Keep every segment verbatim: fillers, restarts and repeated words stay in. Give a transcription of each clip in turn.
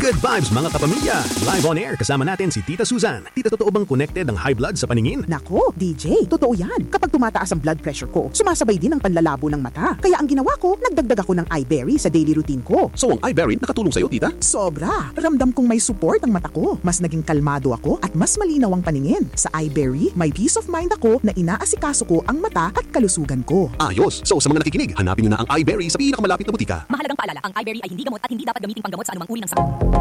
Good vibes, mga kapamilya! Live on air, kasama natin si Tita Susan. Tita, totoo bang connected ang high blood sa paningin? Nako, D J, totoo yan. Kapag tumataas ang blood pressure ko, sumasabay din ang panlalabo ng mata. Kaya ang ginawa ko, nagdagdag ako ng Eyeberry sa daily routine ko. So, ang Eyeberry nakatulong sa'yo, tita? Sobra! Ramdam kong may support ang mata ko. Mas naging kalmado ako at mas malinaw ang paningin. Sa Eyeberry, may peace of mind ako na inaasikaso ko ang mata at kalusugan ko. Ayos! So, sa mga nakikinig, hanapin nyo na ang Eyeberry sa pinakamalapit na butika. Mahalagang paalala, ang Eyeberry ay hindi gamot at hindi dapat gamiting panggamot sa anumang uri ng sakit.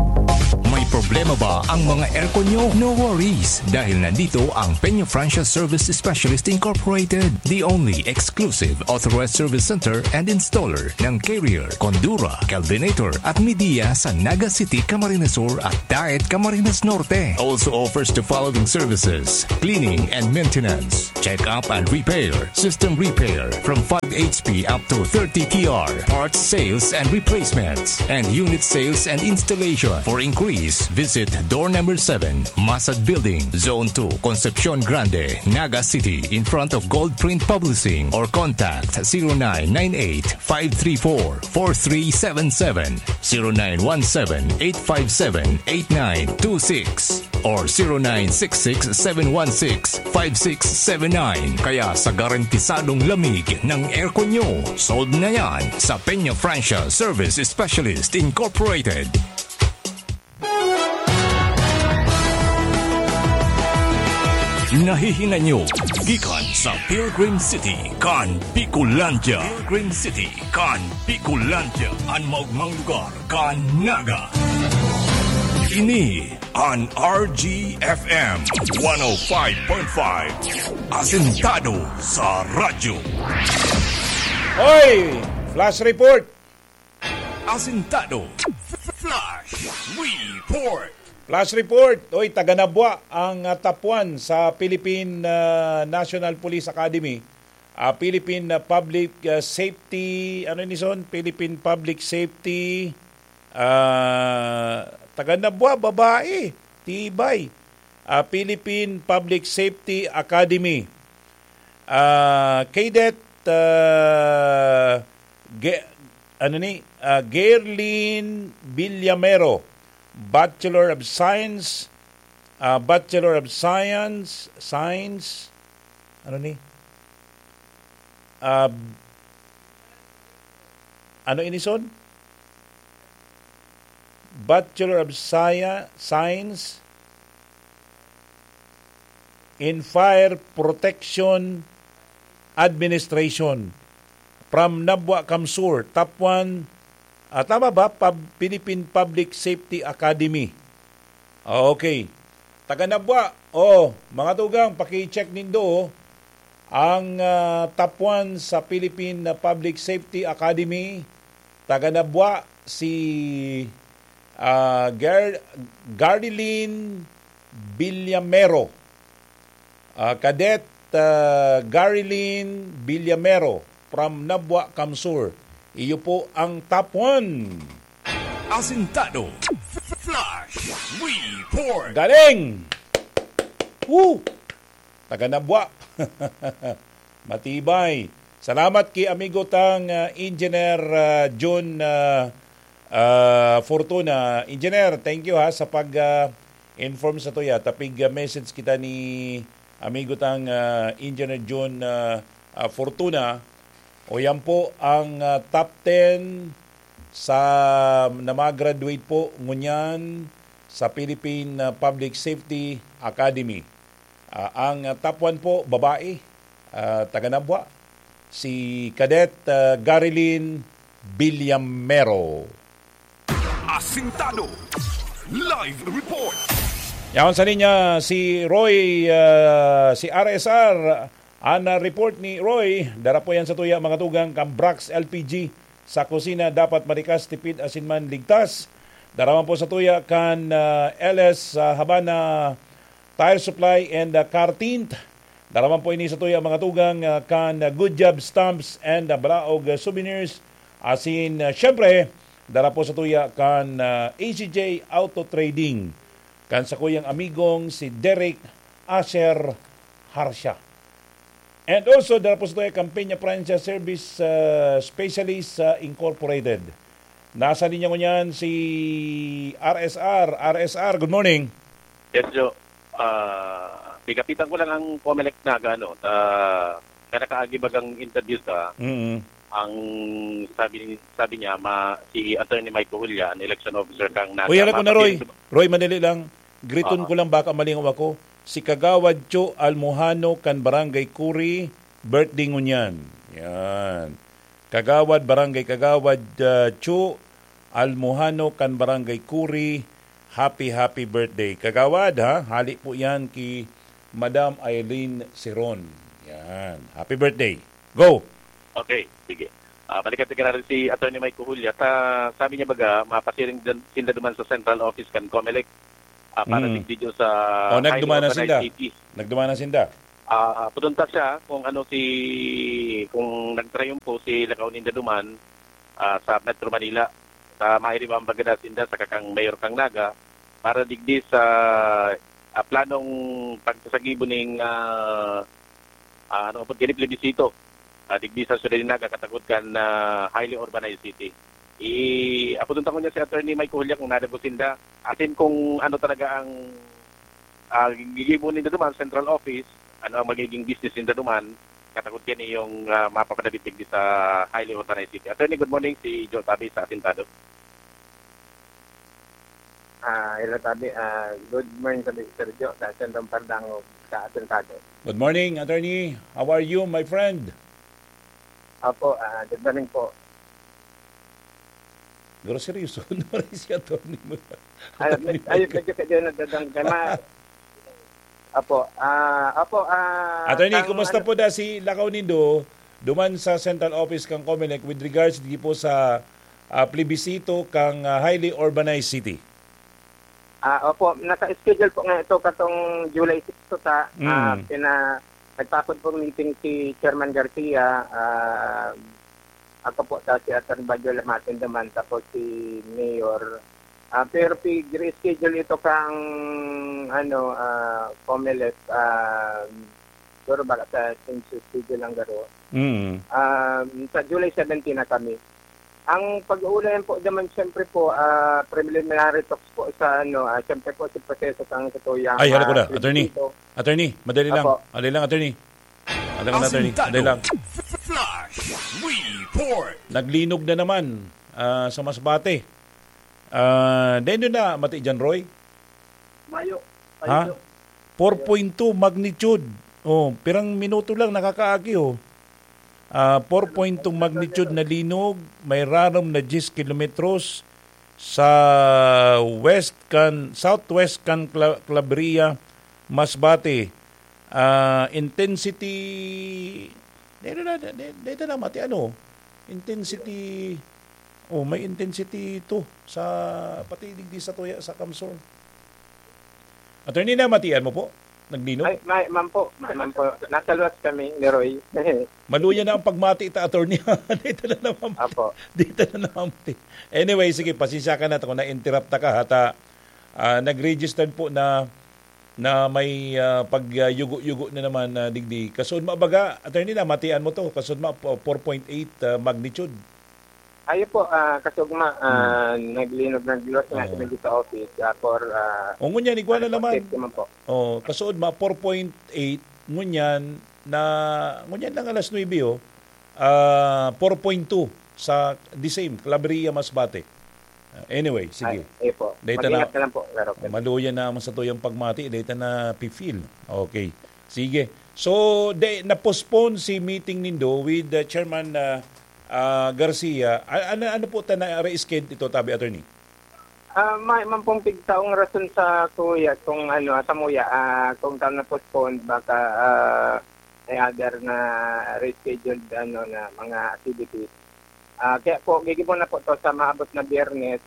May problema ba ang mga aircon nyo? No worries, dahil nandito ang Peña Francia Service Specialist Incorporated, the only exclusive authorized service center and installer ng Carrier, Condura, Kelvinator at Midea sa Naga City, Camarines Sur at Daet, Camarines Norte. Also offers the following services: cleaning and maintenance, check-up and repair, system repair from five H P up to thirty T R, parts sales and replacements, and unit sales and installation. For inquiries, visit door number seven, Masad Building, Zone two, Concepcion Grande, Naga City, in front of Gold Print Publishing, or contact zero nine nine eight, five three four, four three seven seven, zero nine one seven, eight five seven, eight nine two six, or zero nine six six, seven one six, five six seven nine. Kaya sa garantisadong lamig ng aircon nyo, sold na yan sa Peña Francia Service Specialist Incorporated. Nahihinay nyo gikan sa Pilgrim City kan Bicolandia. Pilgrim City kan Bicolandia, an maogmang lugar kan Naga. Ini an R G F M one oh five point five, asentado sa radyo. Oy! Flash report! Asentado. Flash report. Flash report. Oy, taga Nabua ang, ah, top one sa Philippine, ah, National Police Academy. Ah, Philippine, ah, Public, ah, Safety, ano ni son? Philippine Public Safety, ah, taga Nabua, babae, tibay. Ah, Philippine Public Safety Academy. Ah, Cadet, ah, Ge-, ano ni? Ah, Gerlin Villamero, Bachelor of Science, ah, Bachelor of Science, Science, ano ni? Ah, ano ini son? Bachelor of Sci-, Science in Fire Protection Administration from Nabua, CamSur, top one, ah, tama ba? Pub-, Philippine Public Safety Academy. Ah, okay. Taga Nabua, oh, mga tugang, paki-check nindo, oh. Ang, ah, top one sa Philippine Public Safety Academy, taga Nabua, si, ah, Gar-, Garilyn Villamero. Ah, Cadet, ah, Garilyn Villamero from Nabua, CamSur. Iyo po ang top one. Asintado. Flash Report. Galing! Woo! Taga Nabua. Matibay. Salamat ki amigo tang, ah, Engineer, ah, Jun, ah, ah, Fortuna. Engineer, thank you ha sa pag, ah, inform sa tuya. Tapig, ah, message kita ni amigo tang, ah, Engineer Jun, ah, ah, Fortuna. O yan po ang, ah, top ten sa na mag-graduate po ngunyan sa Philippine, ah, Public Safety Academy. Ah, ang, ah, top one po, babae, ah, taga Nabua, si Cadet, ah, Garilyn Villamero. Asintado. Live report. Yaon sa linya si Roy, ah, si R S R. An, ah, report ni Roy, dara po yan sa tuya, mga tugang, kan Brax L P G sa kusina, dapat marikas, tipid, asin man ligtas. Dara man po sa tuya kan, ah, L S, ah, Habana Tire Supply and, ah, Car Tint. Dara man po ini sa tuya, mga tugang, ah, kan, ah, Good Job Stamps and, ah, Balaog, ah, Souvenirs. Asin, ah, syempre, dara po sa tuya kan, ah, A C J Auto Trading, kan sakuyang amigong si Derek Asher Harsha. And also, dara po sa tuya kan Peña Francia Service, ah, Specialist, ah, Incorporated. Nasa linya ngunyan si R S R. R S R, good morning. Yes, Joe. Ah, pigapitan ko lang ang Comelec Naga, no? Ah, kanakaagi bagang interview sa, Mm. ang sabi ni, sabi niya, ma-, si Attorney Mike Cojulia, ang election officer kang Naga, Uy, hala ko na, Roy. mapapil-, Roy, madali lang. Griton Aha. ko lang, baka malingaw ako. Si Kagawad Cho Almohano kan Barangay Kuri, birthday ngunyan. Yan. Kagawad, Barangay Kagawad, ah, Chu Almohano kan Barangay Kuri, happy, happy birthday. Kagawad, ha? Hali po yan ki Madam Eileen Siron. Yan. Happy birthday. Go! Okay, sige. Ah, balikan ta giraray si Attorney Mike Cojulia. Ta, sabi niya baga, mapasiring dan-, sinda duman sa central office kan Comelec, ah, para Mm. digdi sa Oh, highly nagduman na urbanized sinda. cities. Nagduman na sinda. Ah, pudunta siya kung ano si, kung nagtrayumpo si lakaw ninda duman, ah, sa Metro Manila. Sa mairiba ang bagada sinda sa kakang mayor kang Naga para digdi sa, ah, planong pagsasagibo ning, ah, ah, ano po, gini plebisito, ah, digdi sa syudad nin Naga, katakod kan, ah, highly urbanized city. I-, apudon ta ngunyan si Attorney Mike Cojulia kung nadagos sinda, asin kung ano talaga ang, ah, gigibo ninda duman, central office, ano ang magiging business ninda duman, katakod kan iyong, ah, mapapadabit digdi sa highly urbanized city. Attorney, good morning, si Joe Tabi sa Asintado. Ah, hello, Tabi. Ah, good morning, Tabi, Sergio, sa Sendong Pardangog, sa Asintado. Good morning, Attorney. How are you, my friend? Apo, ah, good morning po. Pero seryoso, ano pa rin si Attorney mo? Ay, Attorney ay, Michael. Medyo kaya nadadang-, kaya ma-, apo, ah, apo, ah, Attorney, ang kumusta ano po da si lakaw nindo duman sa central office kang Comelec with regards di po sa, ah, plebisito kang, ah, highly urbanized city? Ah, opo, naka-schedule po nga ito katong July six to ta, ah, Mm. pina-, nagpapod pong meeting si Chairman Garcia, ah, ako po, ta si Attorney Bajo Lamatin naman, tapos si Mayor. Ah, pero pig-reschedule ito kang, ano, ah, Comelec, ah, siguro baka sa change of schedule lang garo. Mm. Um, sa July seventeen na kami. Ang pag-uulayan po naman, siyempre po, ah, preliminary talks po sa, ano, ah, siyempre po, si proseso kang sa tuyang, Ay, hala ko ah, na, attorney. Attorney, madali lang. Apo. Madali lang, attorney. Madali lang, attorney. Asintado. Madali lang. Flash Report. Naglinog na naman, ah, sa Masbate. Ah, dahil doon na, mati dyan, Roy? Mayo. Ha? Mayo. Four point two magnitude. Oh, pirang minuto lang nakakaagi, oh. Ah, four point two magnitude na linog, may rarom na diyes kilometros sa west kan, southwest kan Cla-, Claveria, Masbate. Ah, intensity, dito na, dito, dito na, mati, ano? Intensity, oh, may intensity to sa, pati digdi sa tuya, sa Kamsor. Attorney, namatian mo po? Naglinog? Ay, may, ma'am po. May, ma'am po. Nasa luwas kami ni Roy. Maluya na ang pagmati ta, attorney. Dito na naman. Apo. Dito na naman. Anyway, sige, pasensya ka na kung na-interrupt ta ka, ha, ta, ah, nag-registered po na, na may, ah, pag, ah, yugo-yugo na naman na digdi. Kasunod mo, baga, attorney, namatian mo to. Kasunod mo, po-, four point eight, ah, magnitude. Ayo po, ah, kasugma, ah, Hmm. naglinog, nagluwas nga Oo. kami dito sa office, ah, for, ah, O, ngunyan, igwa na ano po, naman. Safety man po. Oh, kasunod ma, four point eight, ngunyan na, ngunyan lang alas nuebe, oh. Ah, four point two sa the same, Claveria, Masbate. Ah, anyway, sige. Ay, ayo po. Data na, Mag-ingat na lang po, Sir Roque. Maluya na ang sa tuyang pagmati, data na pi-feel. Okay. Sige. So, de, na-postpone si meeting nindo with, uh, Chairman, uh, ah, Garcia. A-, ano, ano po ta na reschedule ito, tabi, attorney? Ah, may man pong pigtaong rason sa kuya kung ano, ah, sa muya, ah, kung ta na-postpone, baka, ah, may other na rescheduled, ano, na mga activities. Ah, kaya po, gigibo na po to sa maabot na Biyernes,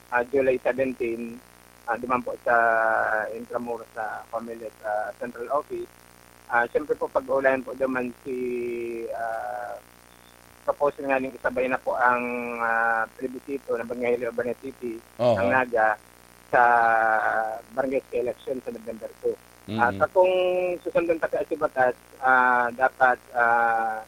ah, July seventeen, ah, duman po sa Intramuros, sa Comelec, ah, Central Office. Ah, siyempre po, pag-uulayan po duman si, ah, proposal nga ning isabay na po ang, ah, plebisito na Barangay Urban City, Oo. ang Naga, sa barangay election sa November two. Ah, Mm. sa kung susundon ta ka sa batas, ah, dapat, ah,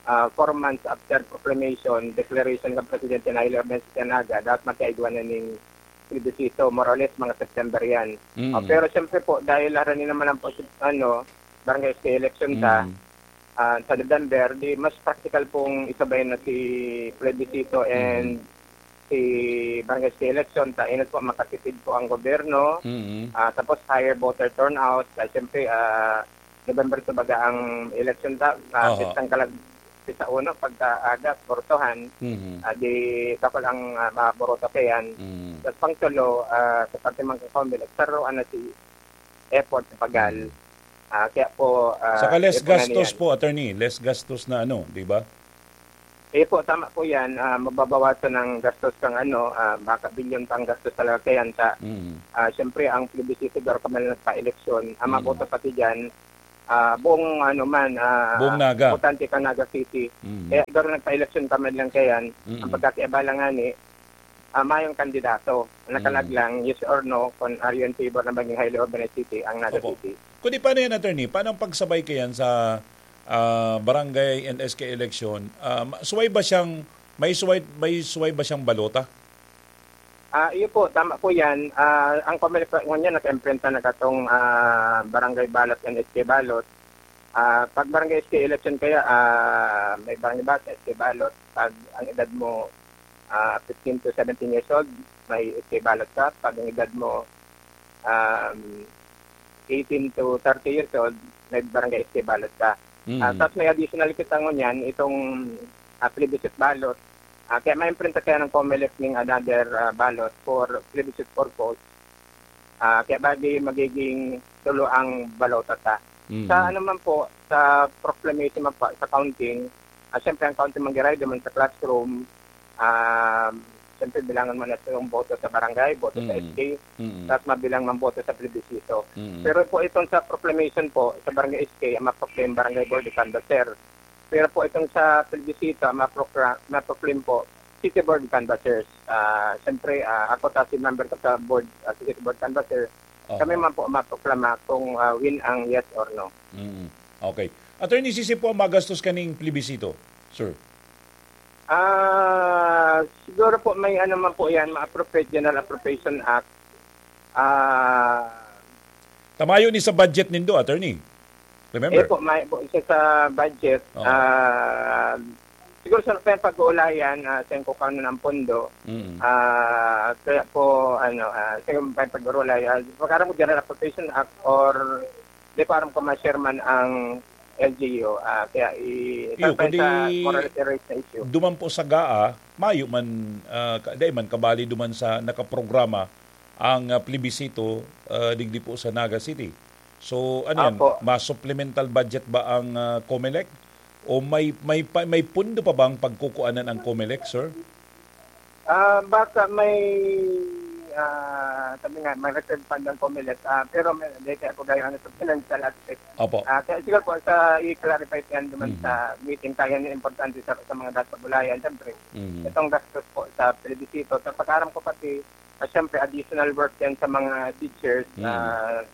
ah, four months after proclamation, declaration kan Presidente na Hilario Benz Naga, dapat magkaigwa na ning plebiscito, more or less, mga September yan. Mm. Ah, pero siyempre po, dahil harani naman ang pos-, ano, barangay S K election ta, Mm. ah, sa November, di mas practical pong isabay na si plebiscito and Mm. si barangay S K election ta, inot po, makatipid po ang gobyerno. Mm. Ah, tapos higher voter turnout, ta, siyempre, ah, November to baga ang election ta, ah, Oho. pistang kalag-, pista uno, pagka aga, bortohan, Mhm. ah, di dakul ang, ah, maborota kaiyan. Mhm. Tas pangtulo, ah, sa parte man kan Comelec, saruan na si effort sa pagal. Mhm. Ah, kaya po, ah, Saka less kaya po na gastos niyan. po, attorney. Less gastos na ano, di ba? Eh po, tama po yan. Ah, mababawasan ang gastos kang ano, ah, baka bilyon pa ang gastos talaga kaiyan ta. Mhm. Ah, siyempre, ang plebiscito, garo ka man nagpa-eleksyon. Ang Mhm. maboto pati dyan, ah, buong ano man, ah, Buong Naga. botante kan Naga City. Mhm. Kaya siguro nagpa-eleksyon ka man lang kaiyan, Mm. ang pagkakiabala nga ni, ah, mayong kandidato. Nakalag Mm. lang, yes or no, kung are you in favor na maging highly urbanized city ang Naga Opo. City. Kundi paano yan, attorney? Paano ang pagsabay kaiyan sa, ah, barangay and S K election? Ah, ma-, suway ba siyang, may suway, may suway ba siyang balota? Ah, iyo po, tama po yan. Ah, ang Comelec po ngunyan nag-imprenta na katong, ah, barangay ballot and S K ballot. Ah, pag barangay S K election kaya, ah, may barangay ballot, S K ballot. Pag ang edad mo, ah, fifteen to seventeen years old, may S K ballot ka. Pag ang edad mo, um, eighteen to thirty years old, may barangay S K ballot ka. Mm. Ah, tapos may additional kita ngunyan, itong, ah, plebiscite ballot. Ah, kaya may imprenta kaya ng Comelec ning another, ah, ballot for plebiscite purpose. Ah, kaya bali magiging tulo ang balota ta. Mm. Sa ano man po, sa proclamation man po, sa counting, ah, siyempre ang counting mangyayari duman sa classroom, um, siyempre bilangan mo na yung boto sa barangay, boto sa Mm. S K, Mm. tapos mabilang man boto sa plebiscito. Mm. Pero po itong sa proclamation po, sa barangay S K, ang maproclaim barangay board of canvassers. Pero po itong sa plebiscito, ang maprocla-, maproclaim po, city board of canvassers. Ah, siyempre, ah, ako ta si member ko sa board, ah, city board canvasser. Oho. Kami man po maproklama kung, ah, win ang yes or no. Mm. Okay. Attorney, sisi po ang magastos kaning plebiscito, sir? Ah, siguro po may ano man po yan, ma-appropriate, General Appropriation Act. Ah, Tamayo ni sa budget nindo, attorney. Remember? Eh po, may po isa sa budget. Oo. Ah, siguro sa pag-uulayan, ah, sa kung kano ng pondo. Mm. Ah, kaya po, ano, ah, sa pag-uulayan, pag-aram ko General Appropriation Act or di pa aram ko ma-share man ang L G U, ah, kaya i-, Iyo, sa kundi more or less erase na issue. Duman po sa gaa, mayo man, ah, ka-, dai man kabali duman sa nakaprograma ang, ah, plebisito, ah, digdi po sa Naga City. So, ano yan? Apo. Mas supplemental budget ba ang, ah, Comelec? O may, may pa, may pundo pa bang pagkukuanan ang Comelec, sir? Ah, baka may, ah, sabi nga, may reserve fund ang Comelec, ah, pero may, may kaya po kayo ano sa financial aspect. Opo. Ah, kaya siguro po sa i-clarify yan naman Mhm. sa meeting tayo yung importante sa, sa mga dapat bulayan. Siyempre, Mhm. itong gastos po sa plebisito. Sa pag-aram ko pati, ah, siyempre, additional work yan sa mga teachers. Mhm. Ah,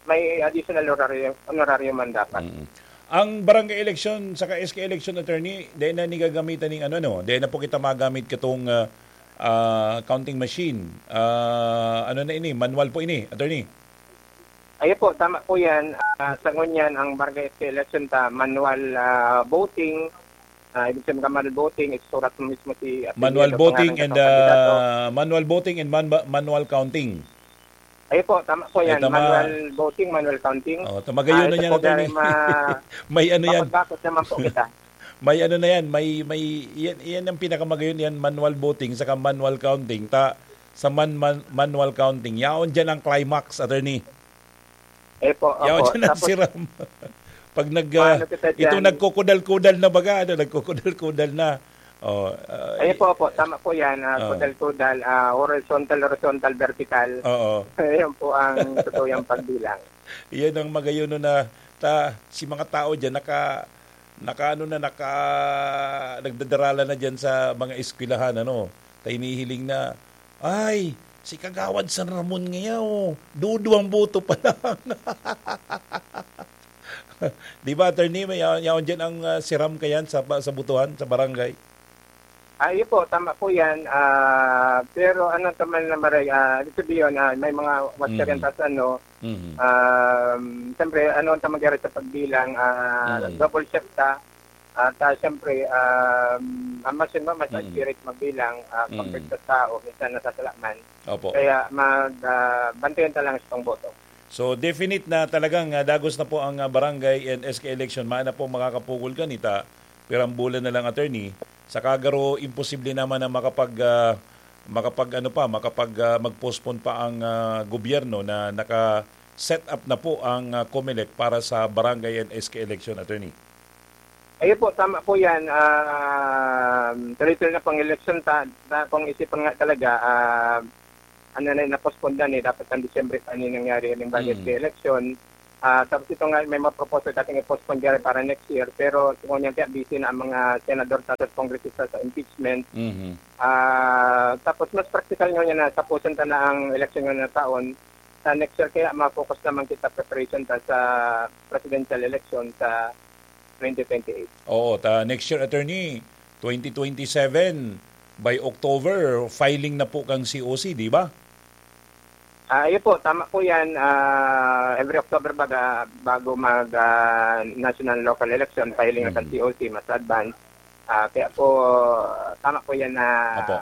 may additional honorario, honorario man dapat. Mm. Ang barangay election saka S K election, attorney, dai na ni gagamitan ning ano, no? Dai na po kita magamit katong, ah, ah, counting machine. Ah, ano na ini? Manual po ini, attorney? Ayun po, tama po yan. Ah, sa ngunyan, ang barangay S K election ta, manual, ah, voting. Ah, ibig sabihin, manual voting, isusurat mo mismo si apelyido, Manual voting pangalan and, ng kandidato. ah, manual voting and man-, manual counting. Ayun po, tama po Ay, yan. tama. Manual voting, manual counting. Oh, ta-, magayon Ah, na ito yan, po, attorney. Gary, ma-, May ano yan. mapagkakos naman po kita. May ano na yan, may, may, yan, yan ang pinakamagayon yan, manual voting saka manual counting. Ta, sa man-, man-, manual counting, yaon dyan ang climax, attorney. Eh po, Yaon opo. dyan ang Tapos, siram. Pag nag, ah, maano kita itong dyan? nagkukudal-kudal na baga, ano, nagkukudal-kudal na. Oh, ah, Ayun i- po, opo. Tama po yan. Ah, Oh. kudal-kudal, ah, horizontal, horizontal, vertical. Oo. Ayun po ang totoo yung pagbilang. Yan ang magayon na ta, si mga tao dyan, naka, naka, ano na, naka, nagdadarala na dyan sa mga eskwelahan, ano, ta hinihiling na, "Ay, si Kagawad San Ramon ngayon, duduwang boto pa lang." Di ba, attorney, may yaon, yaon dyan ang, ah, siram kayan sa, pa-, sa butuhan, sa barangay? Ah, iyo po, tama po yan. Ah, pero ano naman na maray, ah, ibig sabihin, ah, may mga watcher yan, Mm. tas ano, Mhm. um, siyempre, ano ang mangyari sa pagbilang, ah, Mm. double check ta. At, ah, siyempre, um, ang mas yun, mas Mm. accurate magbilang, ah, Mm. compared sa tao, minsan nasasalaman. Opo. Kaya mag, ah, bantayan ta lang itong boto. So, definite na talagang, ah, dagos na po ang, ah, barangay and S K election. Mayo na po makakapugol kanita, pirang bulan na lang, attorney. Saka garo, imposible naman na makapag, ah, makapag, ano pa, makapag, ah, mag-postpone pa ang, ah, gobyerno na naka-set up na po ang, ah, COMELEC para sa barangay and S K election, attorney. Ayun po, tama po yan. Um, tuloy-tuloy na pang election ta, ta, kung isipan nga talaga, ah, ano na, na-postpone na eh, dapat ang Disyembre pa ni nangyari yung budget Mm. election. Ah, tapos ito nga, may mga proposal dating i-postpone dyan para next year, pero kung yan kaya busy na ang mga senador at kongresista sa impeachment. Mhm. Ah, tapos mas practical nga niya na tapusin ta na ang election nga na taon, sa next year kaya ma-focus naman kita preparation ta sa presidential election sa twenty twenty-eight. Oo, ta next year, attorney, twenty twenty-seven, by October, filing na po kang C O C, di ba? Ah, ayun po, tama po yan. Ah, every October baga, bago mag, ah, national local election, filing na sa Mm. C O C, mas advance. Ah, kaya po, tama po yan na Opo.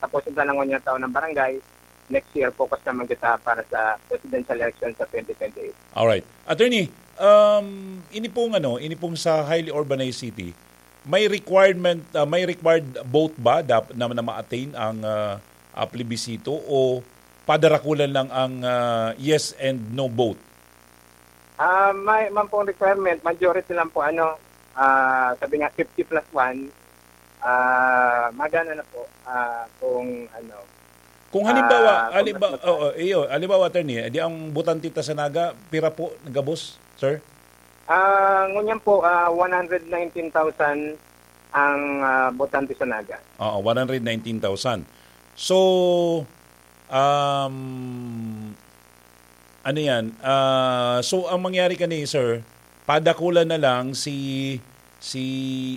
tapos yung tanangon yung taon ng barangay, next year, focus naman kita para sa presidential election sa twenty twenty-eight. Alright. Attorney, um, ini pong ano, ini pong sa highly urbanized city, may requirement, ah, may required vote ba dap-, na, na ma-attain ang, ah, ah, plebisito o padarakulan lang ang, ah, yes and no vote? Ah, may man pong requirement, majority lang po, ano, ah, sabi nga, fifty plus one, ah, magana na po, ah, kung ano, Kung halimbawa, ah, kung halimbawa, mas oo, iyo, halimbawa, attorney, di ang botante ta sa Naga, pira po gabos, sir? Ah, ngunyan po, ah, one hundred nineteen thousand ang, ah, botante sa Naga. Oo, one hundred nineteen thousand. So, um, ano yan? Ah, so, ang mangyari kani, sir, padakulan na lang si, si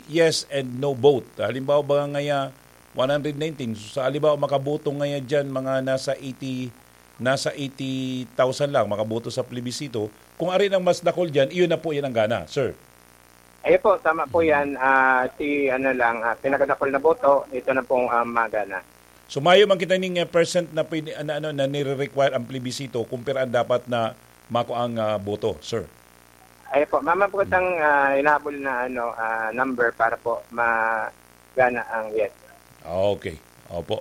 yes and no vote. Halimbawa ba ngaya, one hundred nineteen, so, sa halimbawa, makaboto ngaya dyan, mga nasa eighty, nasa eighty thousand lang makaboto sa plebisito. Kung ari nang mas dakul dyan, iyon na po yan ang gana, sir. Ayun po, tama po Mm. yan. Ah, si ano lang, ah, pinakadakul na boto, ito na pong, ah, magana. So, mayo man kita ning, eh, percent na pwede, na, ano, na nire-require ang plebisito kung pira ang dapat na makuang, ah, boto, sir? Ayun po, mama po Mm. kitang, ah, inahabol na, ano, ah, number para po magana ang yes. Okay. Opo.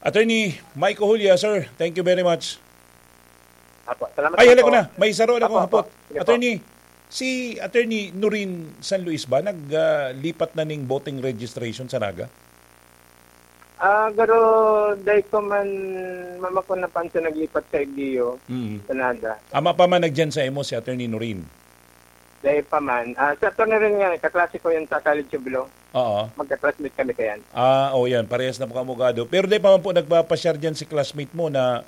Attorney Michael Julia, sir, thank you very much. Apo, salamat Ay, po. Hala ko na. May saro na Apo, akong apo. hapot. Sige po. Attorney, si Attorney Norin San Luis ba nag, ah, lipat na ning voting registration sa Naga? Ah, garo, dai ko man, mama ko napansin naglipat sa Igdeo, Mm. sa Naga. Ama pa man nagdiyan sa imo si Attorney Norin? Dai pa man. Ah, si Attorney Norin nga, kaklase ko yun sa College of Law. Oo. Magka-classmate kami kayan. Ah, oh, yan. Parehas na po kamo abogado. Pero dai pa man po nagpapasyar diyan si classmate mo na,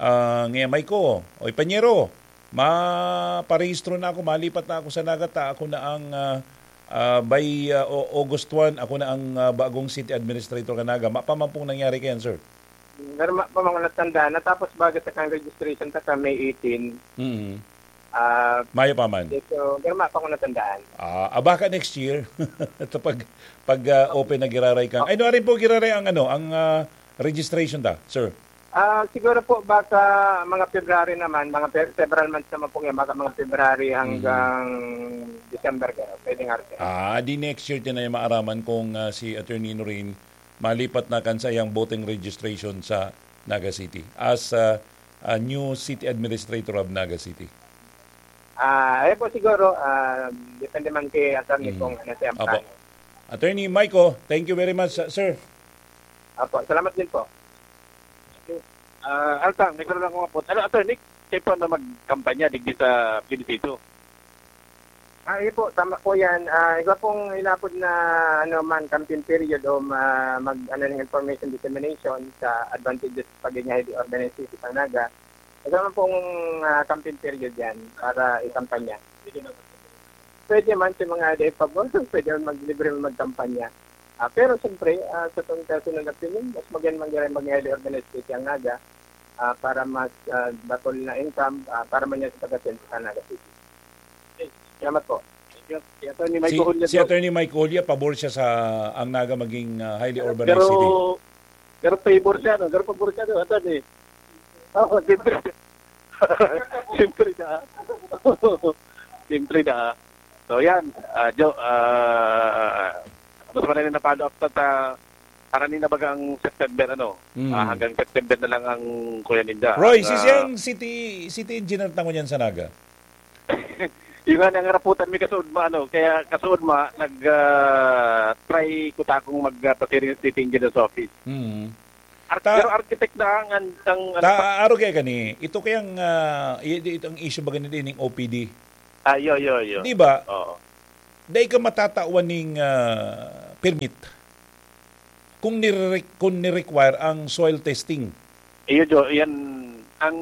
ah, "Ngayamay ko, oy, panyero, maparehistro na ako, malipat na ako sa Naga ta, ako na ang, ah, ah, by, ah, O-, August one, ako na ang, ah, bagong city administrator kan Naga." Mayo pa man pong nangyari kayan, sir? Pero ma-, pa mga natandaan, natapos baga sa kang registration ta ka May eighteen. Mm. Ah, Mayo pa man. So, pero ma-, pa ko natandaan. Ah, ah, baka next year. Ito pag, pag, ah, open na giraray ka. Ay, no, arin po giraray ang, ano, ang, ah, registration ta, sir? Ah, siguro po, baka mga February naman, mga Fe-, several months naman po yan, baka mga February Mhm. hanggang December, gano'n. Pwede nga rin. Ah, di next year din ay maaraman kung, ah, si Attorney Norin malipat na kan saiyang voting registration sa Naga City as, ah, a new city administrator of Naga City. Ah, ayun po siguro, ah, depende man kay attorney Mm. kung ano siya ang Apo. plano. Attorney Michael, thank you very much, sir. Apo, salamat din po. Ah, Altang, may karoon akong apot. Ano, attorney, kayo po na magkampanya digdi sa plebisito? Ah, iyo po, tama po yan. Ah, iba pong inapod na, ano man, campaign period o ma-, mag, ano, ng information dissemination sa advantageous pagganyahe di organized city sa Naga. Iba man pong, ah, campaign period yan para ikampanya. Pwede man sa mga L D F pabor, pwede man maglibre man magkampanya. Ah, pero siyempre, ah, sa tong personal opinion, mas maganda man giraray maging highly organized city ang Naga, ah, para mas, ah, dakul na income, ah, para man yan sa pag-asenso sa Naga City. Okay, salamat po. Thank you. Si Attorney Mike Si, Julio si po. Attorney Mike Julio, pabor siya sa ang Naga maging, ah, highly Pero, urbanized city. Pero favor siya, no? Pero pabor siya, no? Attorney. Oo, siyempre. Siyempre na. Siyempre na. So, yan. Ah, Jo, ah, gusto ko na rin na-follow up sa, sa, para ni na baga ang September, ano? Mm. Ah, hanggang September na lang ang kuya ninda. Roy, Ang, si ah, siyang city, city engineer tango niyan sa Naga? Yun nga, nangaraputan mi kasuodma, ano, kaya kasuodma, nag, ah, try ko ta akong mag, ah, pasiring sa city engineer's office. Mm. Ar-, Ta-, pero architect na ang, ang, ang, ano ta-, pa- aro kaya kani, ito kayang, ah, i-, i-, itong issue ba ganito ining O P D? Ah, yo, yo, yo. Di ba? Oo. Dai ka matatawan ning, ah, permit kung nire-, kung ni-require ang soil testing. Iyo, Jo, yan ang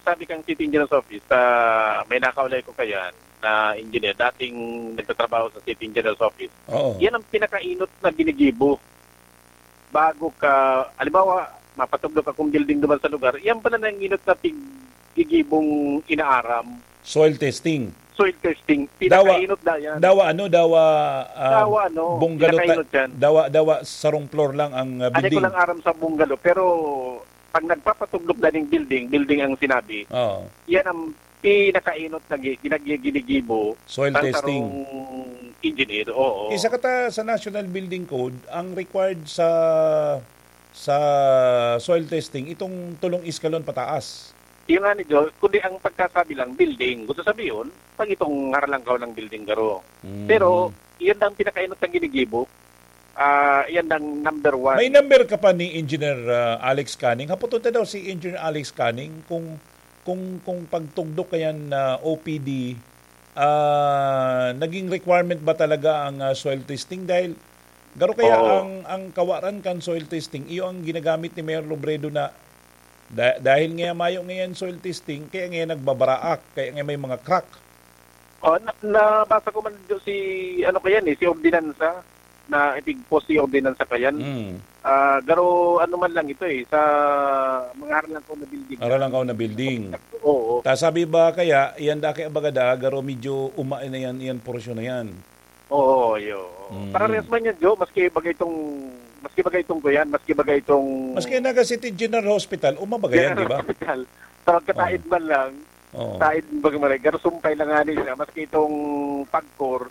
sabi kang City Engineer's Office, ah, may nakaulay ko kayan na engineer, dating nagtatrabaho sa City Engineer's Office. Oo. Yan ang pinakainot na ginigibo. Bago ka, halimbawa, mapatugdok akong building duman sa lugar, yan pala ang inot na pig-, gigibong inaaram. Soil testing. Soil testing. Dawa, Pinakainot na yan. dawa ano, dawa, ah, Dawa ano, bungalow ta-, pinakainot yan. dawa, dawa sarong floor lang ang, ah, Anay ko building. lang aram sa bungalow, pero pag nagpapatugdok na ning building, building ang sinabi, Oo. yan ang pinakainot na gi-, ginag-, ginigibo Soil ng testing. sarong engineer, oo. Isa ka ta sa National Building Code, ang required sa, sa soil testing, itong tulong iskalon pataas. Yun nga ni Jo, kundi ang pagkasabi lang, building. Gusto sabihin, pag itong haralangkaw ng building garo. Mm. Pero, yun ang pinakainot na ginigibo. Ah, yan ang number one. May number ka pa ni Engineer, ah, Alex Canning? Hapoton ta daw si Engineer Alex Canning kung, kung, kung pagtugdok kayan na O P D, ah, naging requirement ba talaga ang, ah, soil testing? Dahil garo kaya Oo. ang, ang kawaran kan soil testing, iyo ang ginagamit ni Mayor Robredo na da-, dahil nga mayo ngayon soil testing, kaya nga nagbabaraak, kaya nga may mga crack. Oh, na-, nabasa ko man do si, ano kayan eh, si ordinansa, na ipigpos si ordinansa kayan. Mm. Ah, garo ano man lang ito eh, sa mga haralangkaw na building. Haralangkaw na building. Oo. Ta sabi ba kaya, yan daki abagada, garo medyo uma na yan, yan porsyon na yan. Oo, yo. Mm. Parehas man yan, Jo, maski bagay itong, maski bagay itong kuyan, maski bagay itong Maski Naga City General Hospital, uma baga yan, General di ba? Hospital. Sa magkataid Oo. man lang, Oo. Sa id-, baga maray, garo sumpay lang nga ni siya, maski itong pagkor,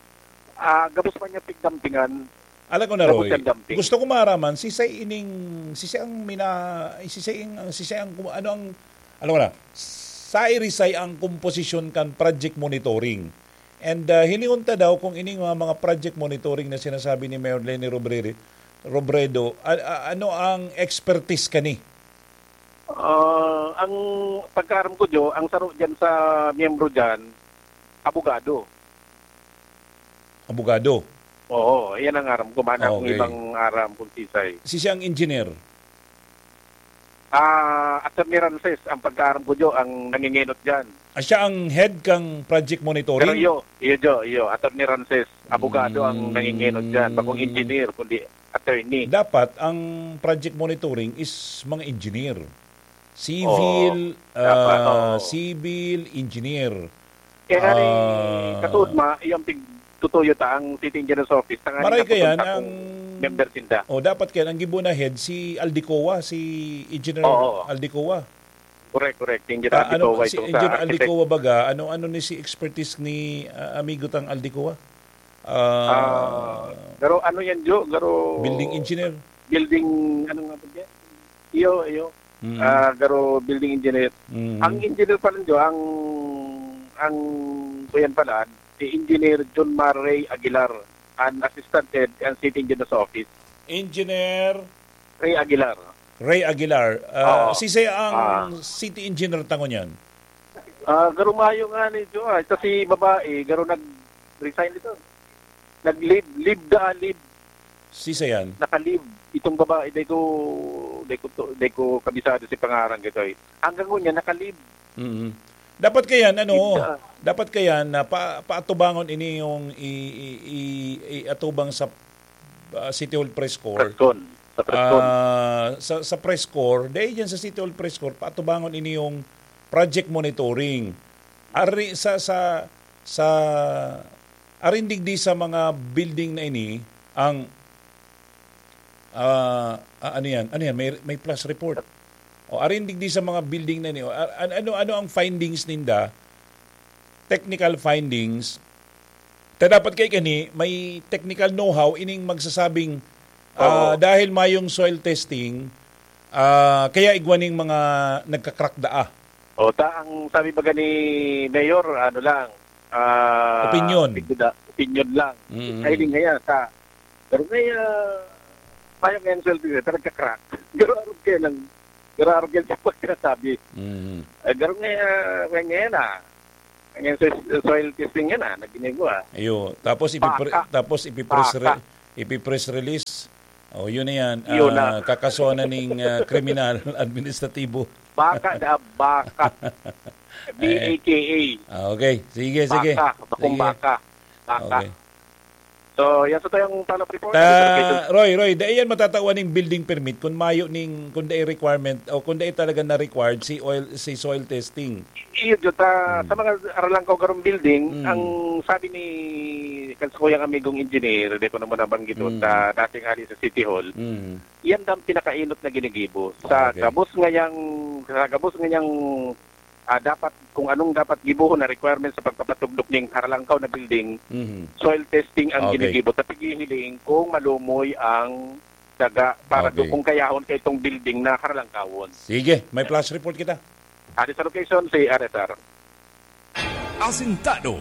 ah, gabos pa niya pigdampingan. Alam ko na, Gabos Roy. siyang dumping. Gusto ko maaraman, sisay ining, sisay ang mina-, sisay ang, sisay ang, ano ang, alam ko na, sa irisay ang komposisyon kan project monitoring. And, ah, hilingon ta daw kung ining mga, mga project monitoring na sinasabi ni Mayor Leni Robrere-, Robredo, a-, a-, ano ang expertise kani? Ah, ang pagkaaram ko, Jo, ang saro diyan sa miyembro diyan, abogado. Abogado? Oo, iyan ang aram ko. Mana kung Okay. ibang aram kung sisay. Si siya ang engineer? Ah, Attorney Rances, ang pagkaaram ko, Jo, ang nangingenot diyan. Ah, siya ang head kang project monitoring? Pero iyo, iyo, Jo, iyo, Attorney Rances, abogado ang Mm. nangingenot diyan. Bakong engineer, kundi attorney. Dapat ang project monitoring is mga engineer. Civil, Oo. Dapat, ah, oo. civil engineer. Kaya nga ni, Ah. kasuod ma, iyang pig-, tutuyo ta ang City Engineer's Office, tanganing Maray kayan napupunta ang kung member sinda. Oh, dapat kayan ang gibo na head si Aldecoa, si Engineer Oo. Aldecoa. Correct, correct. Engineer Ah, ano, Aldecoa si itong sa Engineer architect. Aldecoa baga, ano, ano ni si expertise ni, ah, amigo tang Aldecoa? Ah, Ah, garo ano yan, Jo? Garo building engineer? Building, ano nga ba yan? Iyo, iyo. Mm. Ah, garo building engineer. Mm. Ang engineer pala, Jo, ang, ang kuyan pala, si Engineer John Mar Ray Aguilar, an assistant head kan City Engineer's Office. Engineer Ray Aguilar. Ray Aguilar. Ah, Oo. sisay ang Ah. city engineer tango niyan? Ah, garo mayo nga ni Jo, ah. Ito si babae, garo nag-resign ito. Nag-leave, leave da, leave. Sisay yan? Naka-leave. Itong babae, di ko, di ko to, di ko kabisado si pangaran ko ito eh. Hanggang ngunyan, naka-leave. Mm. Dapat kayan, ano, Isa. dapat kayan na pa, paatubangon ini yung i, i, i, iatubang sa, ah, City Hall Press Corps. Press con. Sa press con. Ah, sa, sa press corps, dahil dyan sa City Hall Press Corps, paatubangon ini yung project monitoring. Ari sa, sa, sa, arin digdi sa mga building na ini, ang, ah, ah, ano yan? Ano yan? May, may flash report. O, arin digdi sa mga building na ini. O, a-, an-, ano, ano ang findings ninda? Technical findings. Ta dapat kay kani, may technical know-how ining magsasabing, ah, Oo. dahil mayong soil testing, ah, kaya igwa ning mga nagka-crack daa. O, ta, ang sabi baga ni Mayor, ano lang, ah, Opinyon. tigda-, opinyon lang. Mm. Ay, di nga yan, sa, pero may, ah, mayong soil testing, pero nagka-crack. Pero arog kayo ng, pero arog yan sa pagkasabi. Mm. Eh, pero may, ah, may ngayon, ah, Ang soil, soil testing yan, ah, na ginagawa. Ayo, tapos ipipre-, Baka. tapos ipipress re-, Baka. ipipress release. Oh, yun na yan. Yun na. Ah, kakasuhan na ning, ah, kriminal administratibo. Baka na baka. Eh. B A K A. Ah, okay. Sige, sige. Baka. Bakong Sige. baka. Baka. Okay. So, yan sa tayong follow-up report. Ta-, Roy, Roy, dai yan matatawan ning building permit kung mayo ning, kung dai requirement o kung dai talaga na required si oil, si soil testing. Iyo, Jota, Hmm. sa mga Aralangkaw Garong Building, Hmm. ang sabi ni kan sa kuyang amigong engineer, di ko naman nabanggit Hmm. sa dating ali sa City Hall, Hmm. yan daw ang pinakainot na ginigibo. Sa Okay. gabos ngayang, sa gabos ngayang ah, dapat, kung anong dapat gibohon na requirements sa pagpapatugdok ning Haralangkaw na building, Mhm. soil testing ang Okay. ginigibo. Ta pighihiling kung malumoy ang daga para Okay. do kung kayahon kay itong building na Haralangkawon. Sige, may flash report kita. Adi sa location, si R S R. Asintado.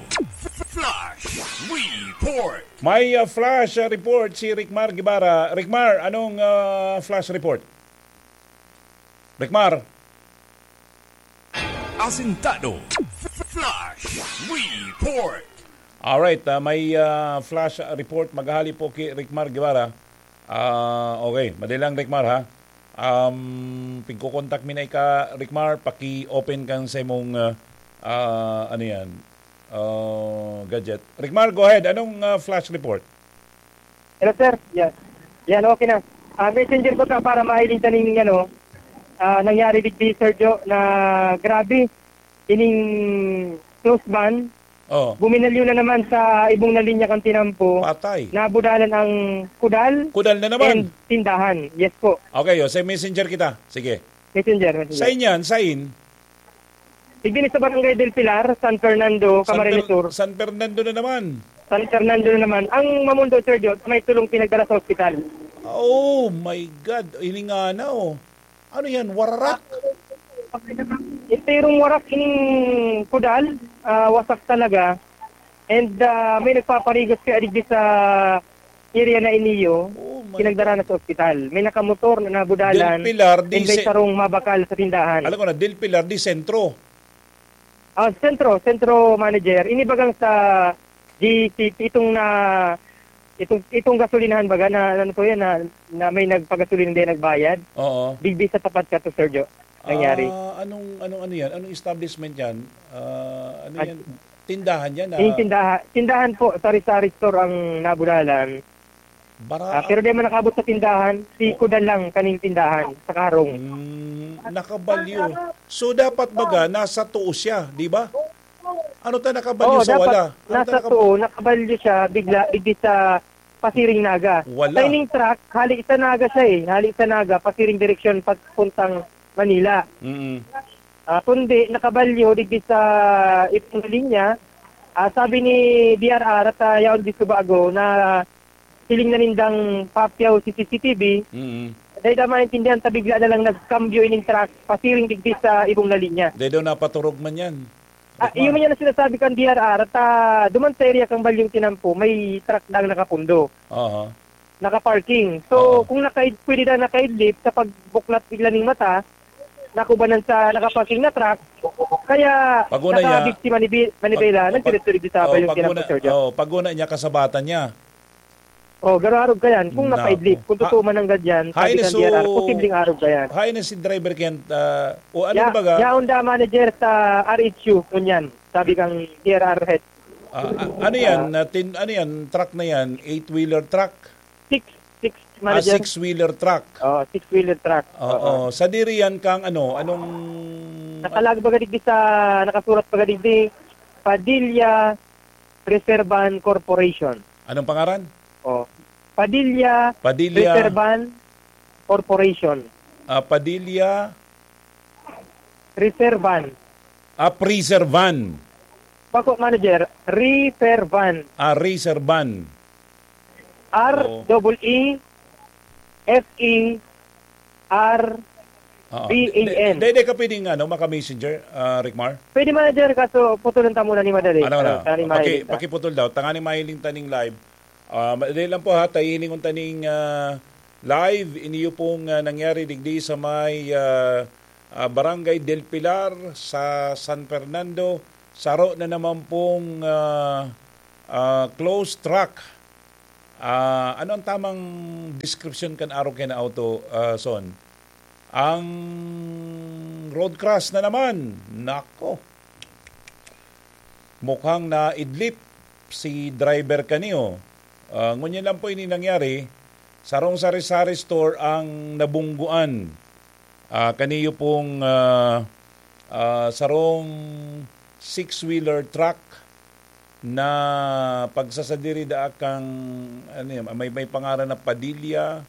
Flash Report. May, ah, flash, ah, report si Rickmar Guevara. Rickmar, anong, ah, flash report? Rickmar? Asintado. Flash Report. Alright, ah, may, ah, flash report maghali po ki Rickmar Guevara. Ah, okay, madali lang, Rickmar, ha. Um, pigko-contact mi na ika, Rickmar, paki-open kan sa imong, ah, ah, ano yan, ah, gadget. Rickmar, go ahead. Anong, ah, flash report? Hello, sir. Yes. Yan, okay na. Ah, messenger ko ta para mahiling ta ning, ano, ah, nangyari digdi, Sir Jo, na grabe. Ining close ban, Oh. buminalyo na naman sa ibong na linya kan tinampo. Patay. Nabudalan ang kudal Kudal na naman. and tindahan. Yes po. Okay, oh, sa messenger kita. Sige. Messenger, messenger. Sain yan? Sain? Digdi sa Barangay Del Pilar, San Fernando, San Camarines Fer-, Sur. San Fernando na naman. San Fernando na naman. Ang mamundo, Sir Jo, may tulong pinagdala sa ospital. Oh my God. Hininga na, oh. Ano yan? Wararak? Enterong warak ining kudal, ah, wasak talaga. And, ah, may nagpaparigos kaya digdi sa area na iniyo, Oh my pinagdara na sa ospital. May nakamotor na nabudalan, Del Pilar, di and may se-, sarong mabakal sa tindahan. Alam ko na, Del Pilar, di sentro. Ah, sentro, sentro manager. Ini bagang sa G C P, itong na, itong, itong gasolinahan baga na, ano to yan, na, na may nagpagasolina, hindi nagbayad. Oo. Digdi sa tapat ka to, Sir Jo. Nangyari. Ah, anong, anong, ano yan? Anong establishment yan? Ah, ano Ah, yan? Tindahan yan, Yung ah. tindaha-, tindahan po, sari-sari store ang nabulalan. Bara- Ah, pero di man nakabot sa tindahan, si Kudan lang kaning tindahan sa karong. Mm, nakabalyo. So, dapat baga, nasa tuo siya, di ba? Ano ta nakabalyo Oo, sa dapat wala? Ano ta nasa nakab- tuo, nakabalyo siya, bigla, digdi sa Pasiring Naga. Wala. Sa ining truck, hali sa Naga siya eh. Hali sa Naga, Pasiring direksyon, papuntang Manila. Mm. Ah, kundi nakabalyo digdi sa ibong na linya. Ah, sabi ni D R R at, ah, yaon di subago na hiling na nindang papyaw si C C T V. Mm. Dahil na maintindihan ta bigla na lang nagkambyo ining truck, pasiring digdi sa ibong na linya. Dahil daw napaturog man yan. Ah, Rickmar. Yun man yan ang sinasabi kan D R R at, ah, duman sa area kang Balyong Tinampo, may truck daang nakapundo. Aha. Nakaparking. So, Oo. kung nakaid-, pwede na nakaidlip sa pagbuklat bigla ning mata, nakubanan sa nakaparking na truck, kaya Paguna niya, nakabiktima ni Bi-, Manibela, pag-, nagdiretso digdi sa oh, Balyong paguna, Tinampo, Sir Joe. Oh, paguna niya, kasabatan niya. Oh, garo arog kayan. Kung Nako. napaidlip, kung Ha-, totoo man ang gadyan, sabi hain na kang so, D R R, posibleng arog kayan. hain na si driver kayan, ah, o ano Ya-, ba ga? yaon da manager sa R H U, ngunyan. Sabi kang D R R head. Ah, ah, ano yan? Ah. Na tin-, ano yan? Truck na yan? Eight-wheeler truck? Six, six, Ah, manager. six-wheeler truck. Oh, six-wheeler truck. Oo. Oo. Sa diri yan kang ano? Anong Nakalag baga digdi sa, nakasurat baga digdi, Padilla Reservan Corporation. Anong pangaran? Oh. Padilla Padilla. Reservan Corporation. Ah, Padilla. Reservan. Ah, Preservan. Bako, manager. Reservan. Ah, Reservan. Oo. R E E F E R Oo. V A N. Di, di, di ka pwedeng, ano, maka-messenger, ah, Rickmar? Pwede, manager, kaso putulan ta muna ni madali. Ano, ano? Ah, tani Paki-, mahiling ta. pakiputol daw. Tangani mahiling ta ning live. Ah, madali lang po, ha. Tahilingon ta ning, ah, live. Iniyo pong, ah, nangyari digdi sa may, ah, ah, Barangay Del Pilar sa San Fernando. Saro na naman pong, ah, ah, closed truck. Ah, ano ang tamang description kan arog kayan na auto, ah, Son? Ang road crash na naman. Nako. Mukhang naidlip si driver kaniyo. Ah, ngunyan lang po ini nangyari. Sarong sari-sari store ang nabungguan. Ah, kaniyo pong, ah, ah, sarong six-wheeler truck na pagsasadiri daa kang, ano yun, may, may pangaran na Padilla,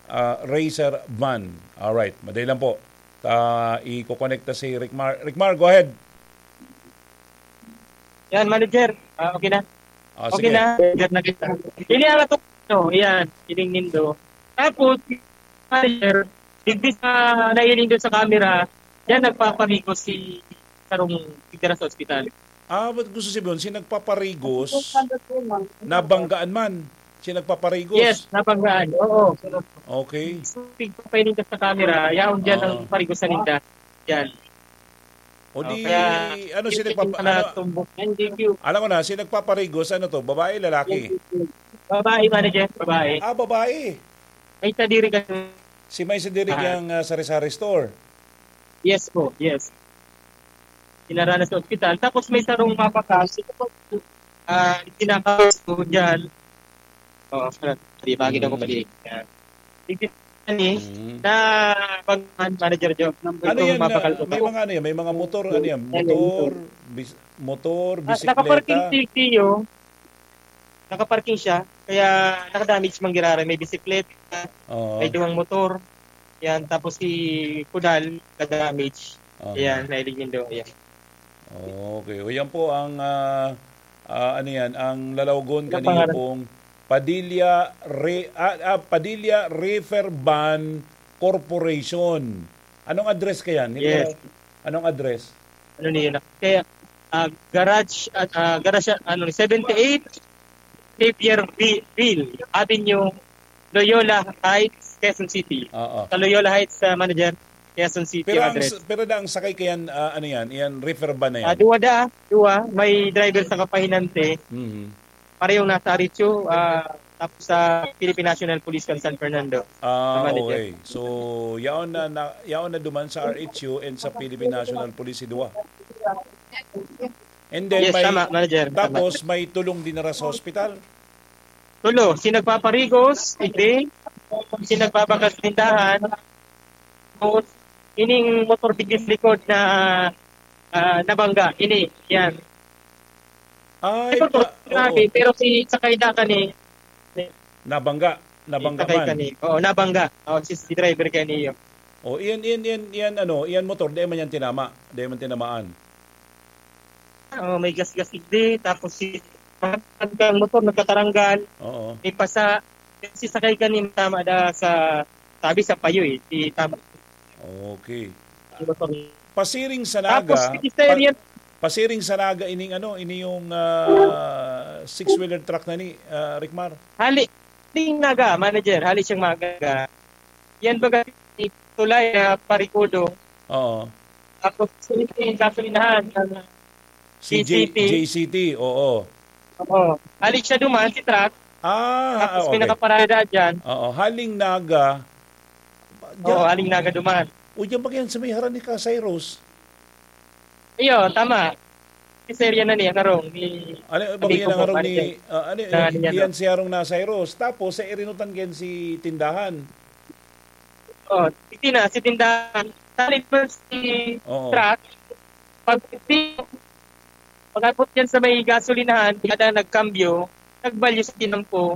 ah, Racer Van. Alright, madali lang po. Ta, iko-connect ta si Rickmar. Rickmar, go ahead. Yan, manager. Ah, okay na? Ah, Okay sige. na. Yan na kita. Ini ang ato, no, yan. Ining nindo. Tapos, manager, digdi sa nailing doon sa camera, yan nagpaparigo si sarong tigdara sa ospital. Ah, ba't gusto sabihin, si nagpaparigos, nabanggaan man? Si nagpaparigos? Yes, nabanggaan. Oo. Okay. Tigpapailing ka sa camera, yaon dyan ang Oo. parigosan ninda. Yan. O Oh, di, kaya ano, yung sino pa, yung mga ano, tumbok yan, thank you. Alam ko na, sino nagpaparigos, ano to, babae, lalaki? Babae, manager, babae. Ah, babae. May sadiri ka. Si may sadiri Ah. kang, ah, sari-sari store? Yes po, yes. Dinara na sa ospital. Tapos may sarong mapakal. Ah, kinakawas ko dyan. Oo, di ba, kita ko Mm. mali. Yan. Hindi ni Mm. na pag manager job. Ano Itong yan na, mapakal ko. may mga ano yan, may mga motor, ano yan, Yan, yan, motor, ito. bis-, motor, Ah, nakaparking bisikleta. si Tio. Nakaparking siya, kaya nakadamage man giraray. May bisikleta, Oo. may duwang motor. Yan, tapos si Kudal, kadamage. Oo. Yan, nailig nindo. Yan. Okay. O, yan po ang, ah, ah, ano yan, ang lalawgon Ano kaniyo pangalan? pong Padilla Re-, ah, ah, Padilla Reefer Van Corporation. Anong address kayan? Hindi Yes. ko na-, anong address? Ano niyo na? Kaya, ah, garage, ah, ah, garage, ano, seventy-eight Xavier Vi-, Ville Avenue, Loyola Heights, Quezon City. Oo. Sa Loyola Heights, ah, manager, Quezon City Pero ang address. s-, pero na ang sakay kayan, ah, ano yan? Yan, reefer van na yan? Ah, duwa da, duwa. May driver sa kapahinante. Mhm. Parehong nasa Aricho, ah, tapos sa Philippine National Police kan San Fernando. Ah, Sa manager. okay. So, yaon na, na, yaon na duman sa R H U and sa Philippine National Police si duwa. And then Yes, may, tama, manager. Tama. tapos may tulong dinara sa hospital. Tulo, si nagpaparigos, hindi. Si nagbabakas tindahan. Tapos, ining motor digdi sa likod na, ah, nabangga. Ini, yan. Ay, Ito to, pa-, grabe, oo. pero si sakay da kani, Nabangga. Nabangga sakay man. kani. Oo, nabangga. Oo, si, si driver kani yun. O, iyan, iyan, iyan, iyan, ano, iyan motor, di man yan tinama. Di man tinamaan. Oo, may gasgas digdi, tapos si, ang motor nagkataranggal, Oo. may pasa, si sakay kani tama da sa, sabi sa payo eh, si tama. Okay. Pasiring sa Naga, Tapos, Mister pa-, Yan. pasiring sa Naga, ining ano, ini yung, ah, six-wheeler truck na ni, ah, Rickmar? Hali, ding Naga, manager, hali siyang Naga. Yan baga, tulay na parikudo. Oo. Tapos, yung gasolinahan, ah, Si J-, J C T. J C T, oo. Oo. Hali siya duman, si truck. Ah, Tapos may okay. nakaparada dyan. Oo, haling Naga. Oo, Diyan, haling Naga duman. O, diyan ba yan sa may harani ka, Cyrus? Iyo, tama. Si Sir yan na niya, karong. Ni, Ano, ano ba hindi yan ko ang po, harong ni, manager. ah, ano, Na, ano yan, iyan no? si harong na Cyrus. Tapos, sa irinutan kayan si tindahan. Oh, hindi na, si tindahan. Salit man si Oo. truck. Pag, pag-abot yan sa may gasolinahan, kada nagkambyo, nagbalyo sa tinampo.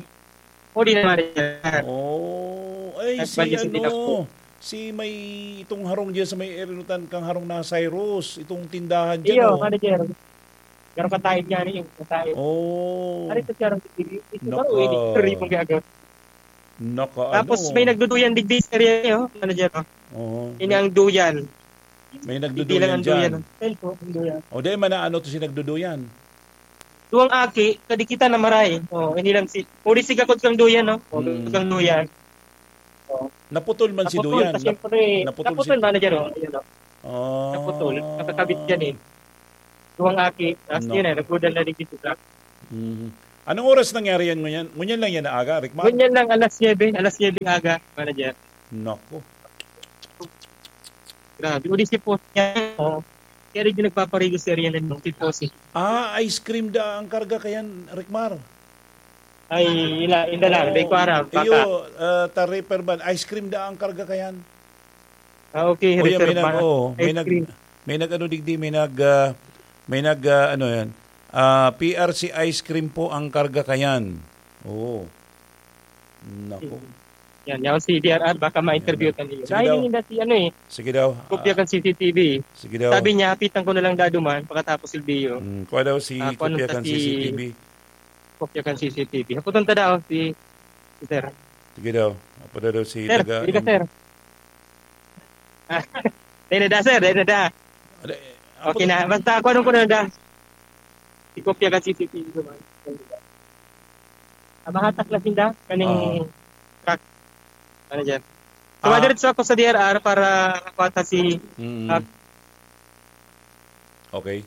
Huli na manager. Oh, ay, si Nagbalyo sa ano, tinampo. si may, itong harong diyan sa may irinutan kang harong na Cyrus, itong tindahan diyan, Iyo, oh. manager. Pero kataid nga niyo, kataid. Oh. Ano ito, sir? Ito, Naka- oh, ini, free mong gagawin. Naka, Tapos ano? may nagduduyan digdi sa area niyo, manager, oh. Oo. Ini ang duyan. May Hindi nagduduyan lang ang dyan. duyan. Ayun po, ang duyan. O, di man na ano to si nagduduyan? Duwang aki, kadikitan na maray. Oh, ini lang si, uli si gakod kang duyan, no? Oh, Mm. kang duyan. Oh. Naputol man si Naputol, duyan. kasi Nap-, siyempre, naputol naputol, si manager, oh. Ayun, oh. Ah. Naputol. Nakakabit yan, eh. Duwang aki. Tapos No. yun, eh, nagbudan na rin dito sa Mhm. Anong oras nangyari yan ngunyan? Ngunyan lang yan na aga, Rickmar? Ngunyan lang, alas nuebe, alas nuebe ng aga, manager. Nako. Grabe. Uli si post niya, oh. Kaya rin yung nagpaparigo sa area na yung si post, eh. Ah, ice cream da ang karga kayan, Rickmar? Ay, ila, inda lang. Di ko Oo. aram, baka. Iyo, ah, ta reefer ban, ice cream da ang karga kayan? Ah, okay, O, yan, may reserve nag-, ba? oo, may Ice nag-, cream. may nag-ano digdi, may nag-, ah, may nag-, ah, ano yan, ah, P R C ice cream po ang karga kayan. Oo. Nako. Yan, yan si D R R, baka ma-interview Yan na. ka niyo. Sige Ay, daw. hindi na si ano eh, Sige daw. kopya Ah, kan C C T V. sige daw. Sabi niya, hapitan ko na lang dado man, pagkatapos si Leo. Mm, kuha daw si Ah, kung ano kopya sa kan si C C T V. Kopya kan C C T V. Haputan ta daw si, si sir. Sige daw. Apo na daw si Sir, taga hindi ka, M- sir. Ah, dahil na da, sir, dahil na da. Ada, eh, Okay apo na. Basta ako nung kuna na. Ikopya ka C C T V naman. Ah, mahatak na sinda, kaning Oo. truck. Ano dyan? So, Ah. madiretso ako sa D R R para makuha ta si, Mm. ah, Okay.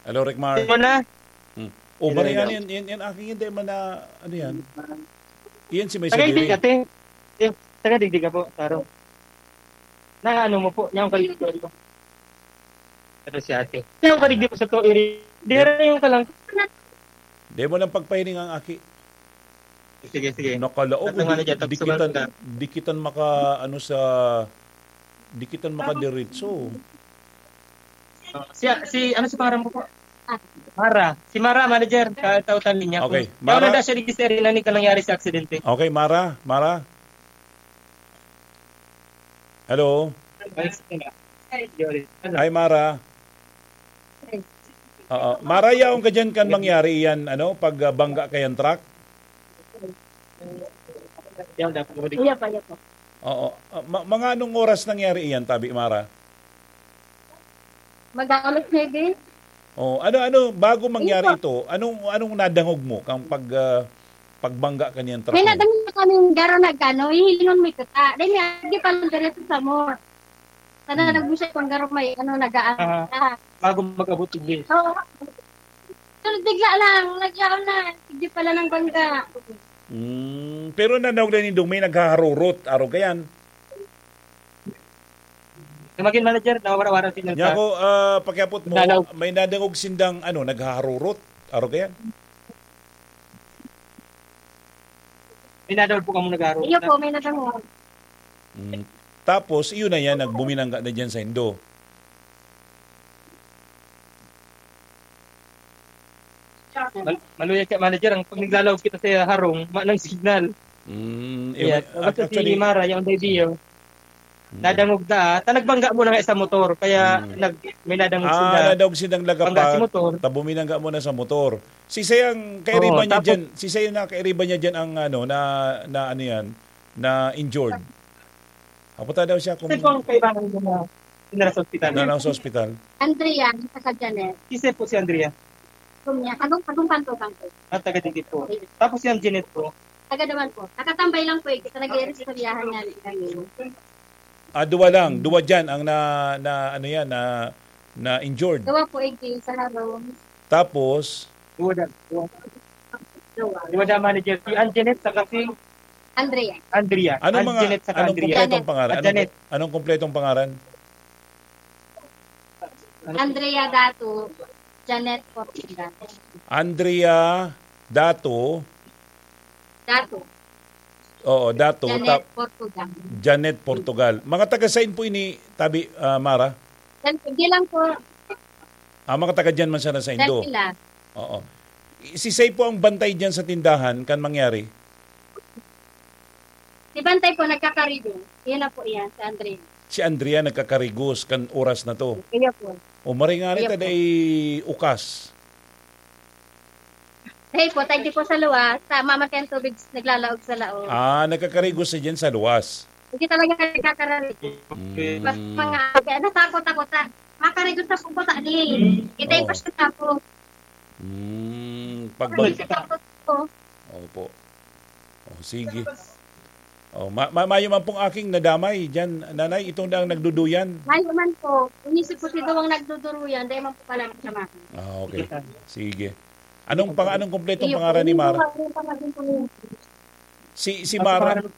Hello, Rickmar. Sino na? Hmm. Oh, Hello, Marian, hello. yan, yan, yan, aking hindi man na, ano yan? Yan si may Taga Ibig, Sabiri. ate. Yung, taga Digdig ka po, Taro. Na ano mo po, yung kaligtasan ko. Ito si ate. Yung kaligdi po sa to, iri-, dira yung kalang. Di mo lang pagpahining ang aki. Sige, sige. Nakalaog, Tatang ano di-, dyan, di tagsugan kita, ka. di kita maka, ano, sa, di kita makadiretso. Oh, si, si, ano si pangalan mo po? Mara. Si Mara, manager, katautan niya. Okay, Kung, Mara. Ano na siya, register na ni ka nangyari sa aksidente. Okay, Mara, Mara. Hello? Ay, sige na. Ay, Mara. Oo. Mara, yaon ka dyan kan mangyari yan, ano, pag, ah, bangga ka yan truck? Yan, dapat mo din. Iya pa, iya pa. Oo. Ah, ma-, mga anong oras nangyari iyan, tabi, Mara? Mag-aalas nuebe. Oh, ano, ano, bago mangyari Ito. ito, anong, anong nadangog mo kang pag, ah, pagbangga ka niyang truck May mo? nadangog na kaming garo na gano, hihilingon mo ito ta. Dahil nga, di pa lang diretso sa mo. Sana Hmm. nagbusa kung garo may, ano, nagaan Ah, na. bago mag-abot, hindi. Oo. Pero bigla lang, naglaon na. Hindi pala ng bangga. Hmm, pero nadangog na nindong may naghaharurot, aro ka yan? Sa magin manager, nawara-wara siya Nya sa ako, ah, pakiapot mo, Dalaw. may nadangog sindang, ano, naghaharurot? Aro ka yan? May nadangog po kamo naghaharurot Iyo na? po, may nadangog. Mm. Tapos, iyon na yan, nagbuminangga na dyan sa Indo. Mal-, maluyag ka, manager, ang pag naglalawag kita sa harong, ma-, ng signal. Mm, Yes. eh, Basta si actually, Mara, yung idea. Mm. Nadangog na, ta nagbangga mo na nga sa motor, kaya Mm. nag-, may nadangog Ah, sila. nadangog silang Bangga si lagapak, motor. ta buminangga mo na sa motor. Si sayang kairiba Oo, niya tapos dyan, si sayang na kairiba niya dyan ang ano, na, na ano yan, na injured. Apo ta daw siya kung Kasi po ang kaibahan mo na pinara sa ospital. na lang sa ospital. Andrea, sa Janet. Isa po si Andrea. Kung niya, kagong, kagong kanto, kanto. Ah, taga dito po. Tapos yung Janet po. Taga naman po. Nakatambay lang po eh. Kasi nag-iiristoryahan niya rin kami. Ah, duwa lang. Duwa dyan ang na, na, ano yan, na, na injured. Gawa po eh, sa harong. Tapos? Duwa dyan. Duwa. Yung madam manager, si Anjanette saka si Andrea. Andrea. Anong mga, Anjanette saka anong Andrea. Kumpletong Janet. Pangalan? Anong, Janet. Anong kumpletong pangalan? Andrea Dato, Janet Portugal. Andrea Dato. Dato. Oo, Dato. Janet Ta-, Portugal. Janet Portugal. Mga taga-sain po ini, Tabi, ah, Mara? Yan, hindi lang po. Ah, mga taga dyan man sana sa Indo. Dyan sila. Oo. Si Say po ang bantay dyan sa tindahan, kan mangyari? Si Bantay po, nagkakarigo. Yan na po yan, si Andrea. Si Andrea nagkakarigos kan oras na to. Kaya po. O, maray nga Kaya rin, po. Taday ukas. Hey po, tayo di po sa luwas. Sa mamamatay ang tubig, naglalaog sa laog. Ah, nagkakarigos siya dyan sa luwas. Hindi talaga nagkakarigo. Mm. Mas mga, kaya natakot ako sa, makarigos sa pupunta ni. Kita yung Oo. Pasyon ako. Mm, pag Ano bag- sa takot ko? Opo. Oh, sige. Oh, ma-, ma-, mayo man pong aking nadamay diyan, Nanay, itong daang nagduduyan. Mayo man po. Inisip ko si Duwang nagduduruyan, dahil man po pala sa mga. Ah, okay. Sige. Anong pang-, anong kumpletong Iyo po, pangalan ni Mara? Yung pangalan po niya. Si, si Ang Mara, pangalan